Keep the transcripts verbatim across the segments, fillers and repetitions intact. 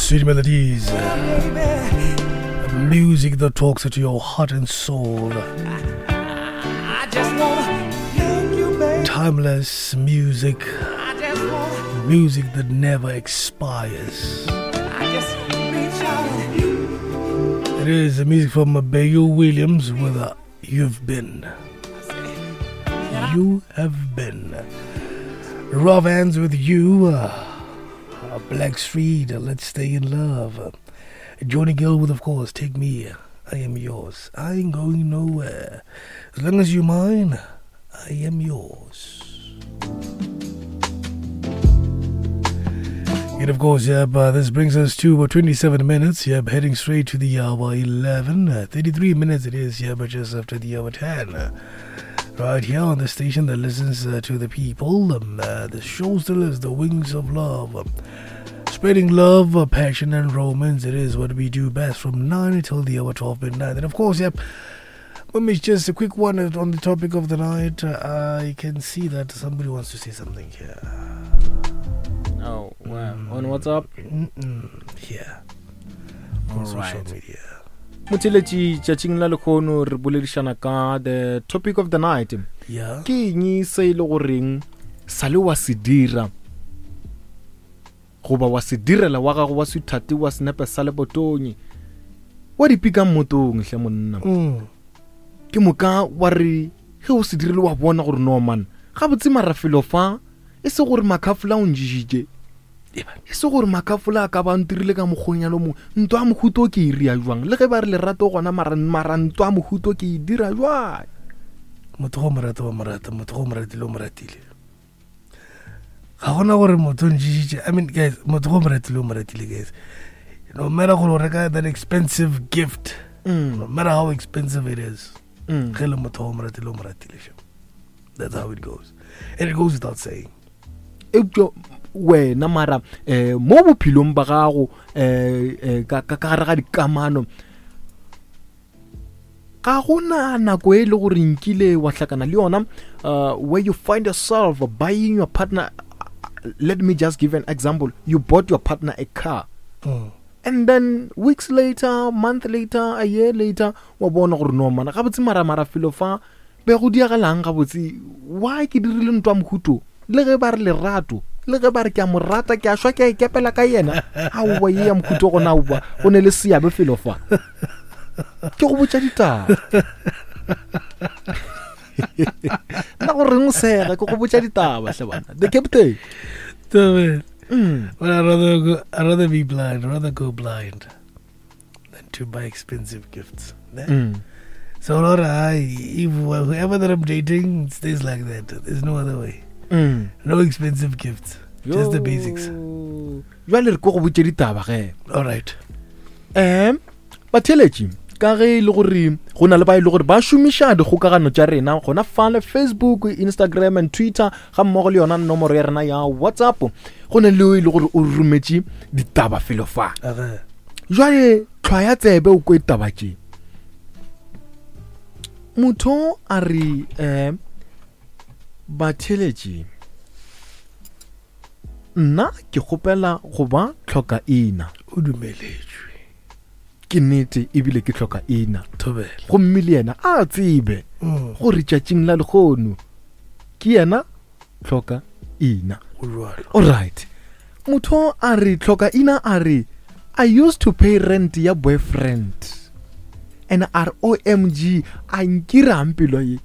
Sweet melodies. Music that talks to your heart and soul. I just wanna thank you, baby. Timeless music. I just wanna, Music that never expires. I just reach out and It is the music from Bayo Williams with uh, You've Been. You Have Been. Rough Hands with You. Uh, uh, Black Street, uh, Let's Stay in Love. Uh, Johnny Gill with, of course, Take Me. I Am Yours. I ain't going nowhere. As long as you're mine, I am yours. And of course, yep, uh, this brings us to uh, twenty-seven minutes. Yep, heading straight to the hour eleven. Uh, thirty-three minutes it is, yeah, but just after the hour ten. Uh, right here on the station that listens uh, to the people. Um, uh, the show still is The Wings of Love. Um, spreading love, uh, passion, and romance. It is what we do best from nine until the hour twelve midnight. And of course, yep, um, it's just a quick one on the topic of the night. Uh, I can see that somebody wants to say something here. Oh, wow. On WhatsApp? Mm-mm. Yeah. On social Alright. media. Motheletši, tšatšing la lekgono re boledišana ka the topic of the night. Yeah. Ke eng se e le goreng sa le wa se dira goba wa se direla wa gago wa sweetheart wa senepe sa lebotonye wa di pika mmotong hle monna. Mm. Ke moka wa re ge o se dirile wa bona gore no man gabotse marafelo fa e se gore makhafola o njišitše, e se gore makhafola a ka ba ntirile ka mokgonyalo mongwe, ntwa ya mohuto ke e ria jwang? Le ge ba re lerato gona, mara, mara ntwa ya mohuto ke e dira jwang? Motho go mo rata wa mo rata, motho go mo ratile o mo ratile. Ga gona gore motho o njišitše. I mean, guys, motho go mo ratile o mo ratile, guys. No matter gore o reka that expensive gift, Mm. no matter how expensive it is, Mm. ge le motho go mo ratile o mo ratile, shem. That's how it goes. And it goes without saying. Eupša wena mara, eh, mo bophelong ba gago, eh, eh, ka, ka, ka gare ga dikamano, ga gona nako e le gore nkile wa hlakana le yona, uh, where you find yourself buying your partner. Let me just give an example. You bought your partner a car. Mm. And then weeks later, month later, a year later, wa bona gore no mana gabotse mara mara felo fa be go diagalang gabotse, why ke dirile ntwa mohuto? Le ge ba re lerato, le ge ba re ke a mo rata, ke a shwa, ke a ikepela ka yena, aowa ye ya mohuto gona aowa, go ne le seabe felo fa. Ke go botša ditaba. Nna go reng o sega, ke go botša ditaba hle bana. The captain. Damn it. Mm. But I'd rather go, I'd rather be blind. I'd rather go blind than to buy expensive gifts. Ne? Mm. So, Laura, I, if whoever that I'm dating, it stays like that. There's no other way. Mm. No expensive gifts. Just the basics. Yo. Jwale re ko go botše ditaba ge. All right. Um, batheeletši, ka ge e le gore go na le ba e le gore ba šomiša dikgokagano tša rena gona fale Facebook, Instagram and Twitter, ga mmogo le yona nomoro ya rena ya WhatsApp, go na le o e le gore o rometše ditaba felo fa. Okay. Jwale tlhwaya tsebe o kwe taba tše. Motho a re, um, batheeletši, nna ke kgopela go ba tlhokaina. O dumeletšwe. Ke nnete ebile ke tlhokaina. Thobela. Gomme le yena a tsebe Mm. gore tšatšing la lekgono ke yena tlhokaina. Go jwalo. Alright. Motho a re tlhokaina a re, I used to pay rent ya boyfriend. And R O M G, a nkirang pelo ye.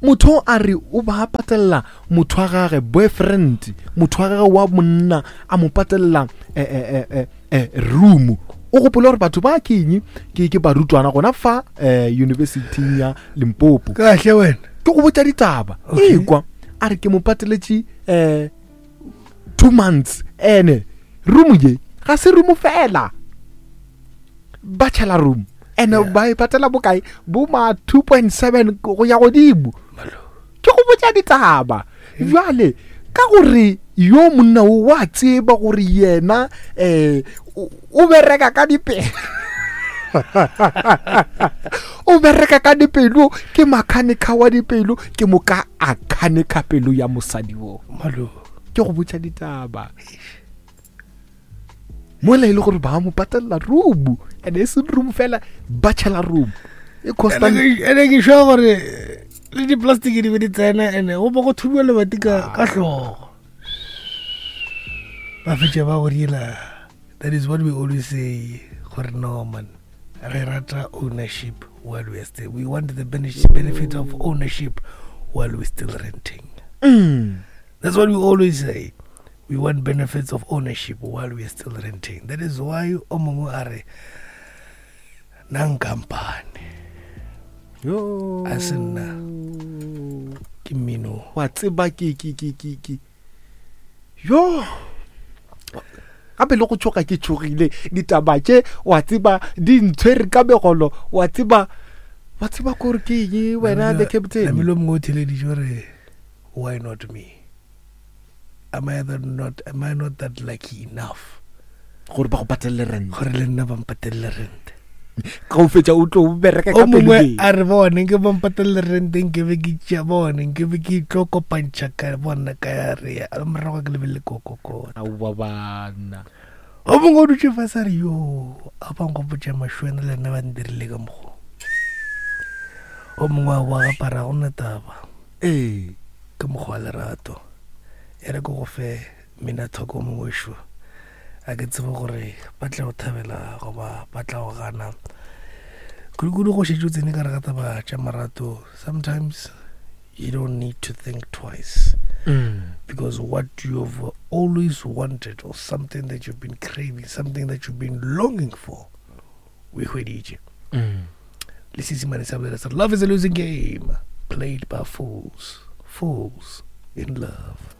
Motho a re o ba patella motho wa gagwe boyfriend, motho wa gagwe wa monna a mo patella, eh, eh, eh, eh, eh, room. O gopola gore batho ba ke eng? Ke, ke barutwana gona fa, eh, university ya Limpopo. Kahle wena. Ke go botša ditaba. Okay. Ekwa, a re ke mo pateletše, eh, two months. Ene room ye ga se room fela, bachelor room. Ene Yeah. ba e patela bokae? Bo ma two point seven go ya godimo. Ke go botša ditaba. Jwale ka gore yo monna o wa tseba gore yena, eh, o, o bereka ka dipelo. O bereka ka dipelo, ke makhanikha wa dipelo, ke moka a khanikha pelo ya mosadi wo. Malo. Ke go botša ditaba. Mola e le gore ba mo patelela room, and e se room fela, bachelor room e costa. Ene ke sure gore le di-plastic di be di tsena, ene go bo go thubiwa lebati ka ka hlogo, ba fetša ba go dira. That is what we always say, gore no man, re rata ownership while we are still, we want the benefit benefit of ownership while we're still renting. Mm. That's what we always say. We want benefits of ownership while we are still renting. That is why o mongwe a re nang company Yo. A se nna. Ke mmino. Wa tseba ke ke ke ke ke yo, gape le go tshoga, ke tshogile. Ditaba tše, wa tseba, di ntshwere ka megolo, wa tseba, wa tseba kore ke eng wena the captain. Namile mongwe o theleditše gore why not me? Am I that not am I not that lucky enough gore ba go patelele rent? Gore le nna ba mpatelele rent. Ga o fetša o tlo bereka O ka mongwe pelo. A re bone nke ba mpatelele rent, nke be ke tšea bone, nke be ke tlo kopantšha ka bona ka ya re ya morago ke lebelele kokokota. Aowa bana. O mongwe o dutse fase a re yo a bankgopotša mašwena le nna ba ndirile ka mokgo. O mongwe a boa gapara go nna taba ee ke mokgwa wa lerato e re ke go fe mina thoko mongwe šo, a ke tsebe gore ba tla go thabela goba ba tla go gana, kudu-kudu go šetše o tsene ka re ga taba tša marato. Sometimes you don't need to think twice Mm. because what you've always wanted or something that you've been craving, something that you've been longing for, o e hweditše. Mm. Le seesimane sa bolela sa re, love is a losing game played by fools, fools in love.